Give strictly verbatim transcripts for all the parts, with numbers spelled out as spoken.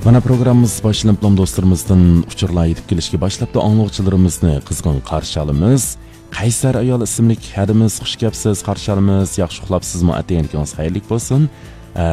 مانا پروگراممىمىز باشلىنىپلا دوستلىرىمىزدىن ئۇچۇرلار يېتىپ كېلىشكە باشلاپتۇ. ئاڭلىغۇچىلىرىمىزنى قىزغىن قارشى ئالىمىز. قەيسەر ئايال ئىسىملىك ھەدىمىز، خۇش كەپسىز، قارشى ئالىمىز. ياخشى ئۇخلاپسىزمۇ؟ ئەتىگەنلىكىڭىز خەيرلىك بولسۇن. ئە،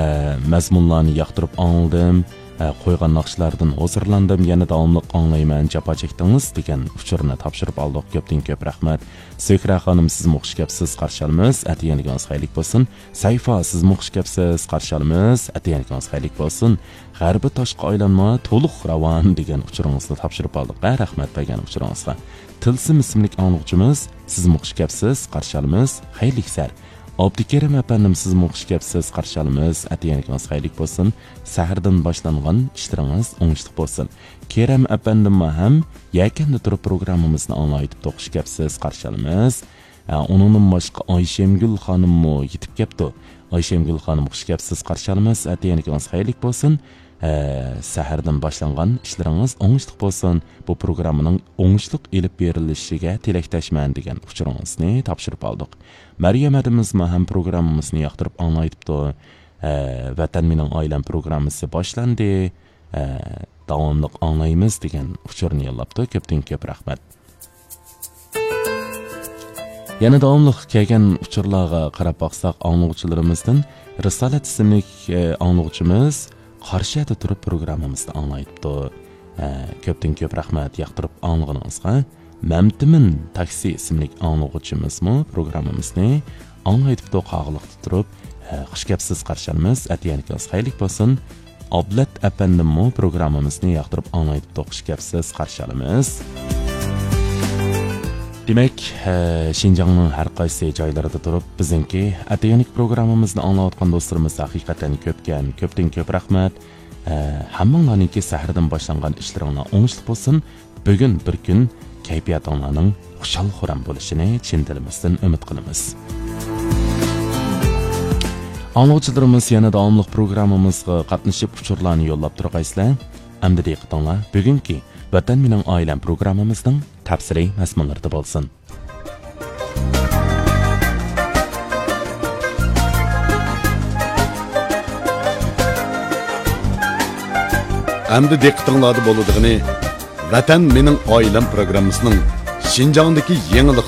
مەزمۇنلارنى ياقتۇرۇپ ئاڭلىدىم. ئە، قويغان ناخشىلاردىن ھۇزۇرلاندىم. يەنە داۋاملىق ئاڭلايمەن، جاپا چەكتىڭىز دېگەن ئۇچۇرنى تاپشۇرۇپ ئالدۇق. كۆپتىن كۆپ رەھمەت. زۆھرە خانىم، سىزمۇ خۇش كەپسىز، قارشى ئالىمىز. ئەتىگەنلىكىڭىز خەيرلىك بولسۇن. سەيفا، سىزمۇ خۇش كەپسىز، قارشى ئالىمىز. ئەتىگەنلىكىڭىز خەيرلىك بولسۇن. غەربىي تاشقا ئايلانما، تولۇق راۋان دېگەن ئۇچۇرىڭىزنى تاپشۇرۇپ ئالدۇق. ھە، رەھمەت بەرگەن ئۇچۇرىڭىزغا. تىلسىم ئىسىملىك ئاڭلىغۇچىمىز، سىزمۇ خۇش كەپسىز، قارشى ئالىمىز. خەيرلىك سەھەر. ئابدۇكېرىم ئەپەندىم، سىزمۇ خۇش كەپسىز، قارشى ئالىمىز. ئەتىگەنلىكىڭىز خەيرلىك بولسۇن. سەھەردىن باشلانغان ئىشلىرىڭىز ئوڭۇشلۇق بولسۇن. كېرەم ئەپەندىممۇ ھەم يەكەندە تۇرۇپ پروگراممىمىزنى ئاڭلاۋېتىپتۇ، خۇش كەپسىز، قارشى ئالىمىز. ھە، ئۇنىڭدىن باشقا ئايشەمگۈل خانىممۇ يېتىپ كەپتۇ. ئايشەمگۈل خانىم، خۇش كەپسىز، قارشى ئالىمىز. ئەتىگەنلىكىڭىز خەيرلىك بولسۇن. ھە، سەھەردىن باشلانغان ئىشلىرىڭىز ئوڭۇشلۇق بولسۇن. بۇ پروگراممىنىڭ ئوڭۇشلۇق ئېلىپ بېرىلىشىگە تىلەكداشمەن دېگەن ئۇچۇرىڭىزنى تاپشۇرۇپ ئالدۇق. مەريەم ھەدىمىزمۇ ھەم پروگراممىمىزنى ياقتۇرۇپ ئاڭلايتىپتۇ. ھە، ۋەتەن مېنىڭ ئائىلەم پروگراممىسى باشلاندى. ھە، داۋاملىق ئاڭلايمىز دېگەن ئۇچۇرنى يوللاپتۇ. كۆپتىن كۆپ رەھمەت. يەنە داۋاملىق كەلگەن ئۇچۇرلارغا قاراپ باقساق، ئاڭلىغۇچىلىرىمىزدىن رىسالەت ئىسىملىك، ئە، ئاڭلىغۇچىمىز قارشى يەردە تۇرۇپ پروگراممىمىزنى ئاڭلايتتى. ئە، كۆپتىن كۆپ رەھمەت ياقتۇرۇپ ئاڭلىغىنىڭىزغا. مەمتىمىن تاكسى ئىسىملىك ئاڭلىغۇچىمىزمۇ پروگراممىمىزنى ئاڭلايتتى، قاغىلىقتا تۇرۇپ. ئە، خۇش كەپسىز، قارشى ئالىمىز. ئەتىگەنلىكىڭىز خەيرلىك بولسۇن. ئابلەت ئەپەندىممۇ پروگراممىمىزنى ياقتۇرۇپ ئاڭلايتتى، خۇش كەپسىز، قارشى ئالىمىز. دېمەك، ھە، شىنجاڭنىڭ ھەر قايسى جايلىرىدا تۇرۇپ بىزنىڭكى ئەتىگەنلىك پروگراممىمىزنى ئاڭلاۋاتقان دوستلىرىمىز ھەقىقەتەن كۆپكەن، كۆپتىن كۆپ رەھمەت. ھە، ھەممىڭلارنىڭكى سەھەردىن باشلانغان ئىشلىرىڭلار ئوڭۇشلۇق بولسۇن. بۈگۈن بىر كۈن كەيپىياتىڭلارنىڭ خۇشال-خۇرام بولۇشىنى چىن دىلىمىزدىن ئۈمىد قىلىمىز. ئاڭلىغۇچىلىرىمىز يەنە داۋاملىق پروگراممىمىزغا قاتنىشىپ ئۇچۇرلارنى يوللاپ تۇرغايسىلەر. ئەمدى دىققىتىڭلار بۈگۈنكى ۋەتەن مېنىڭ ئائىلەم پروگراممىمىزنىڭ تەپسىلىي مەزمۇنلىرىدا بولسۇن. ئەمدى دىققىتىڭلاردا بولىدىغىنى ۋەتەن مېنىڭ ئائىلەم پروگراممىسىنىڭ شىنجاڭدىكى يېڭىلىق